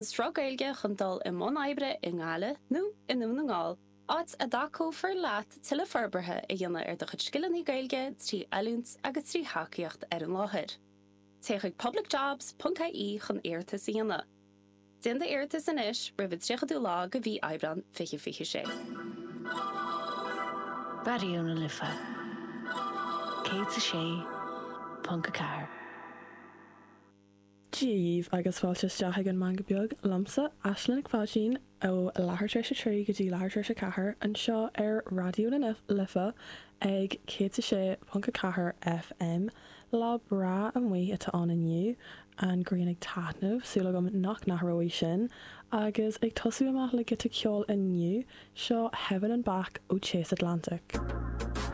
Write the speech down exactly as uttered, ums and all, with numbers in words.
Sruth Gaeilge chun dul i mbun oibre i nGaillimh nó i nDún na nGall, áit a dtacófar leat tuilleadh forbartha a dhéanamh ar do chuid scileanna Gaeilge trí oiliúint agus trí thacaíocht ar an láthair. Téigh chuig publicjobs.ie chun iarratas a dhéanamh. Déan d'iarratas anois roimh an tríochadú lá de mhí Aibreán fiche fiche sé. Raidió na Life céad a sé ponc a ceathair. Dia dhaoibh agus fáilte isteach ag an Meangadh Beag liomsa Aisling Nic Pháidín ó leathuair tar éis a trí go dtí leathuair tar éis a ceathair anseo ar Raidió na Life ag céad a sé ponc a ceathair FM. Lá breá amuigh atá ann inniu an ghrian ag taitneamh súil agam nach n-athróidh sin, agus ag tosú amach le giota ceoil inniu seo Heaven and Back ó Chase Atlantic.